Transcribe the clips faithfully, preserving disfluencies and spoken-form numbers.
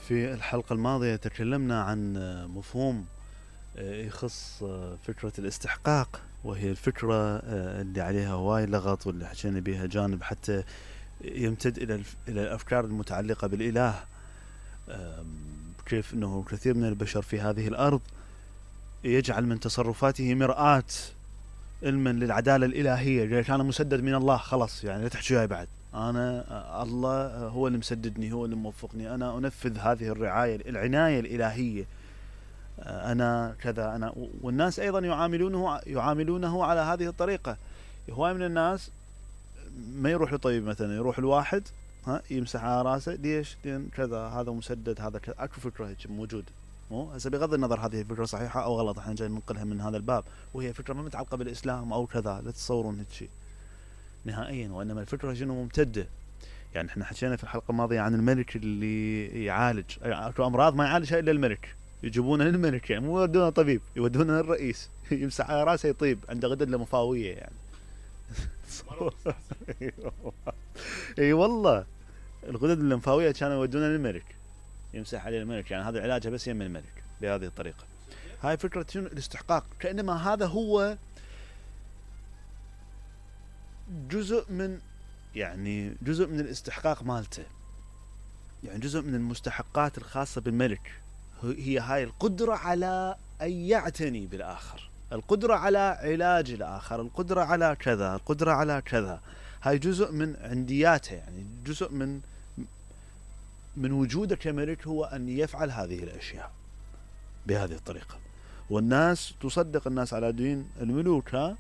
في الحلقة الماضية تكلمنا عن مفهوم يخص فكرة الاستحقاق، وهي الفكرة اللي عليها هواي لغط واللي حكينا بها جانب حتى يمتد إلى إلى الأفكار المتعلقة بالإله، كيف أنه كثير من البشر في هذه الأرض يجعل من تصرفاته مرآة علما للعدالة الإلهية، لأن أنا مسدد من الله خلاص، يعني لا تحكي وياي بعد، أنا الله هو اللي مسددني، هو اللي موفقني، أنا أنفذ هذه الرعاية العناية الإلهية، أنا كذا أنا. والناس أيضا يعاملونه يعاملونه على هذه الطريقة. هواي من الناس ما يروح لطبيب مثلا، يروح الواحد ها يمسح على راسه، ليش؟ لأن كذا هذا مسدد، هذا كذا. أكو فكرة هيك موجودة، مو هسه بغض النظر هذه الفكرة صحيحة أو غلط، احنا جاي ننقلها من هذا الباب، وهي فكرة ما متعلقة بالإسلام أو كذا، لا تتصورون هيك شيء نهائيا، وإنما الفكرة شنو ممتدة. يعني احنا حكينا في الحلقة الماضية عن الملك اللي يعالج اكو أمراض ما يعالجها إلا الملك، يجيبونه للملك، يعني مو يودونه طبيب، يودونه للرئيس يمسح على راسه يطيب، عنده غدد لمفاوية يعني. اي والله الغدد اللمفاوية كانوا يودونه للملك يمسح عليه الملك، يعني هذا علاجه بس يم الملك بهذه الطريقة. هاي فكرة الاستحقاق، كأنما هذا هو جزء من يعني جزء من الاستحقاق مالته، يعني جزء من المستحقات الخاصة بالملك هي هاي القدرة على أن يعتني بالآخر، القدرة على علاج الآخر، القدرة على كذا، القدرة على كذا. هاي جزء من عندياته، يعني جزء من من وجوده كملك هو أن يفعل هذه الأشياء بهذه الطريقة. والناس تصدق، الناس على دين الملوك ها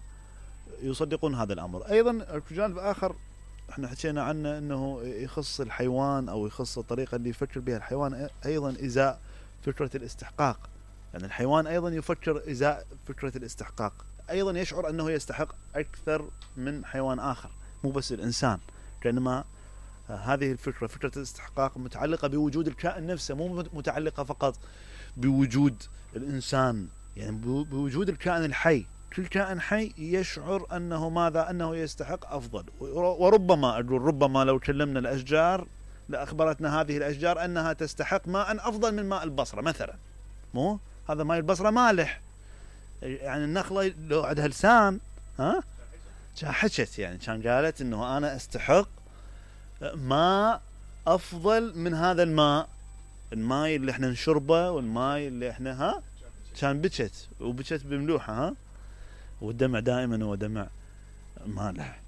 يصدقون هذا الأمر. أيضا جانب آخر احنا حكينا عنه أنه يخص الحيوان أو يخص الطريقة اللي يفكر بها الحيوان أيضا إزاء فكرة الاستحقاق، يعني الحيوان أيضا يفكر إزاء فكرة الاستحقاق، أيضا يشعر أنه يستحق أكثر من حيوان آخر، مو بس الإنسان، كأنما هذه الفكرة فكرة الاستحقاق متعلقة بوجود الكائن نفسه، مو متعلقة فقط بوجود الإنسان، يعني بوجود الكائن الحي. كل كائن حي يشعر أنه ماذا؟ أنه يستحق أفضل. وربما أقول ربما لو كلمنا الأشجار لأخبرتنا هذه الأشجار أنها تستحق ماء أفضل من ماء البصرة مثلا، مو هذا ماء البصرة مالح، يعني النخلة لو عندها لسان ها حكت، يعني كان قالت أنه أنا أستحق ماء أفضل من هذا الماء، الماء اللي احنا نشربه والماء اللي احنا ها كان بكت وبكت بملوحة ها، والدمع دائما هو دمع مالح.